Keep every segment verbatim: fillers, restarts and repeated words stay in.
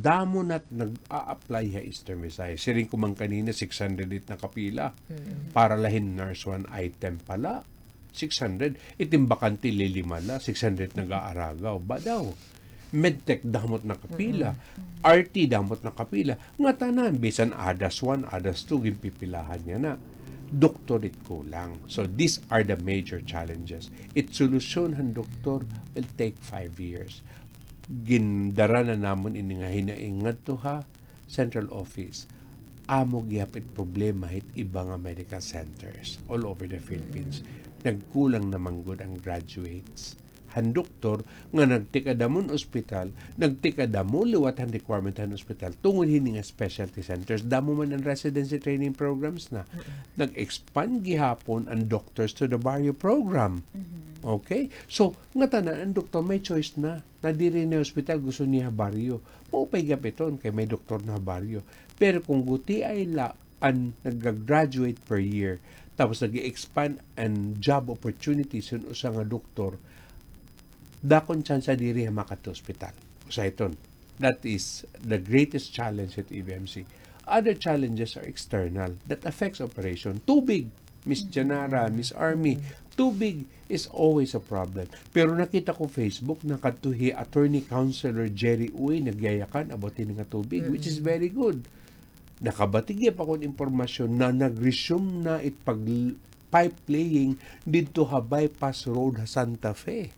Damo na nag-a-apply ha Eastern Visayas. Siring ko man kanina, six hundred it nakapila. Mm. Para la hin nurse one item pa la. Six hundred. It im bakante lilima la, six hundred nag-aaragaw. Ba daw? Medtech damo it nakapila. Mm-mm. R T damo it nakapila. Ngatanan, bisan ADAS one, ADAS two, ginpipilahan yana. Doktor it kulang. So, these are the major challenges. It solusyon han doktor will take five years. Gindara na namon ini nga hinaing ngadto ha central office. Amo gihap it problema hit iba nga medical centers all over the Philippines. Nagkulang na man gud an graduates han doktor nga nagtikadamo an ospital, nagtikadamo liwat han requirement han ospital tungod hini nga specialty centers. Damo man an residency training programs na. Mm-mm. Nag-expand gihapon an Doctors to the Barrio program. Mm-hmm. Okay? So, ngatanan an doktor may choice na. Nadiri na ospital, gusto niya baryo. Maupay gihap iton kay may doktor na baryo. Pero kon gutiay la an nagga-graduate per year, tapos nag-expand an job opportunities hin usa nga doktor, dako an tsansa diri ha makadto ospital. Usa iton. That is the greatest challenge at E V M C. Other challenges are external that affects operation. Tubig, Miss Janara, Miss Army, tubig is always a problem. Pero nakita ko Facebook, nakadto hi Attorney Councilor Jerry Uy, nagyayakan about hini nga tubig, which is very good. Nakabatig gihap ako hin impormasyon na nag-resume na it pag-, pipe laying didto ha bypass road ha Santa Fe,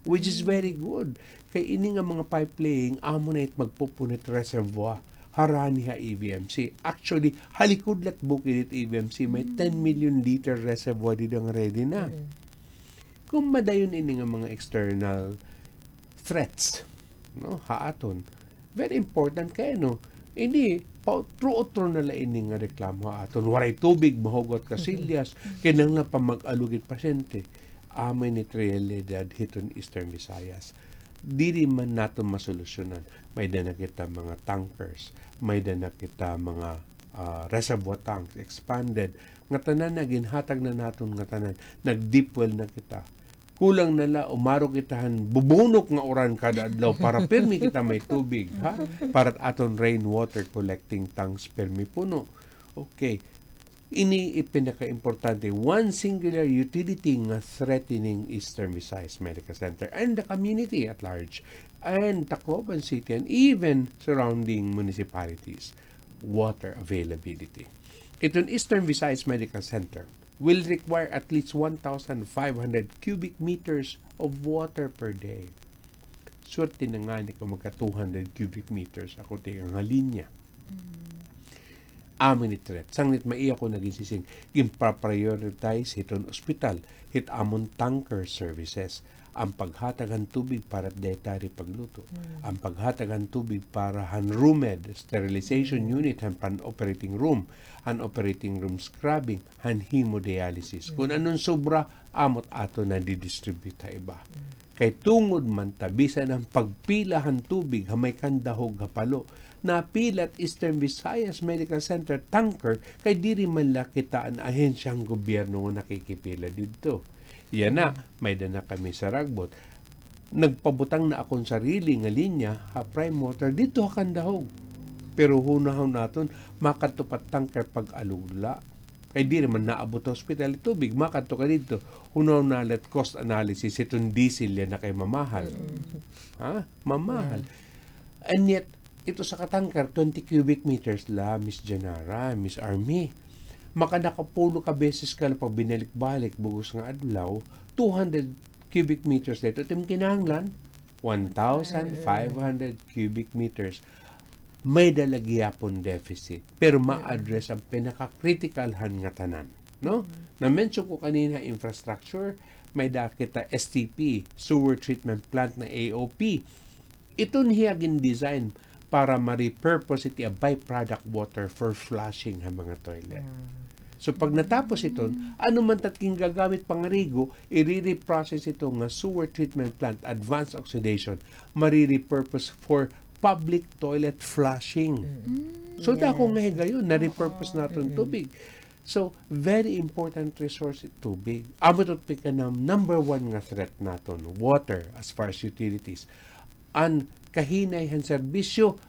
which is very good. Kay ini nga mga pipe laying, amo na it magpupunit reservoir harani ha E V M C. Actually, ha likod la it bukid it E V M C, may ten million liter reservoir dida nga ready na. Mm. Kon madayon ini nga mga external threats, no, ha aton, very important kay, no, ini, pautro-utro na la ini nga reklamo ha aton. Waray tubig, mahugaw it kasilyas, kinahanglan pa mag-alog it pasyente. Amo ini it realidad hiton Eastern Visayas. Diri man naton masolusyonan. May-ada na kita mga tankers, may-ada na kita mga, ah, reservoir tanks, expanded. Ngatanan na, ginhatag na naton ngatanan. Nag-deep well na kita. Kulang na la, umaro kita han bubunok nga uran kada adlaw para pirmi kita may tubig, ha? Para it aton rainwater collecting tanks pirmi puno. Okay. Ini it pinakaimportante. One singular utility nga threatening Eastern Visayas Medical Center and the community at large, and Tacloban City and even surrounding municipalities. Water availability. Iton Eastern Visayas Medical Center will require at least one thousand five hundred cubic meters of water per day. Swerte na ngani kon magka two hundred cubic meters ako tikang ha linya. Mm. Amo ini it threat. Sanglit maiha ko na ginsising, ginpa-prioritize hiton ospital hit amon tanker services. An paghatag han tubig para dietary pagluto. Mm. An paghatag han tubig para han RUMED, sterilization unit, han pan-operating room, han operating room scrubbing, han hemodialysis. Kon anon sobra, amo it aton nadidistribute ha iba. Kay tungod man ta, bisan an pagpila han tubig ha may kandahog ha Palo, napila it Eastern Visayas Medical Center tanker, kay diri man la kita an ahensya han gobyerno nga nakikipila didto. Yana, may-ada na kami sa Ragbot. Nagpabutang na akon sarili nga linya ha Prime Water didto ha kandahog. Pero hunahon naton, makadto pa tanker pag-alog la. Kay diri man naabot ha ospital it tubig, makadto ka didto. Hunahon na la it cost analysis, iton diesel yana kay mamahal. Mm. Ha? Mamahal. And yet, ito sa ka-tanker, twenty cubic meters la, Miss Janara, Miss Army. Maka nakapulo ka beses ka la pag binalik-balik, bug-os nga adlaw, two hundred cubic meters la ito. It im kinahanglan, one thousand five hundred cubic meters. May-ada la gihapon deficit, pero ma-address an pinaka-critical han ngatanan, no? Mm. Na-mention ko kanina, infrastructure, may-ada kita S T P, sewer treatment plant na A O P. Iton hiya gin-design para ma-repurpose it iya byproduct water for flushing ha mga toilet. Mm. So, pag natapos iton, ano man it at gingagamit pangarigo, ire-reprocess ito nga sewer treatment plant, advanced oxidation, mare-repurpose for public toilet flushing. Mm. So, dako nga higayon, na-repurpose naton tubig. So, very important resource it tubig. Amo ito it pinaka-number one nga threat naton, water, as far as utilities. An kahinay han serbisyo,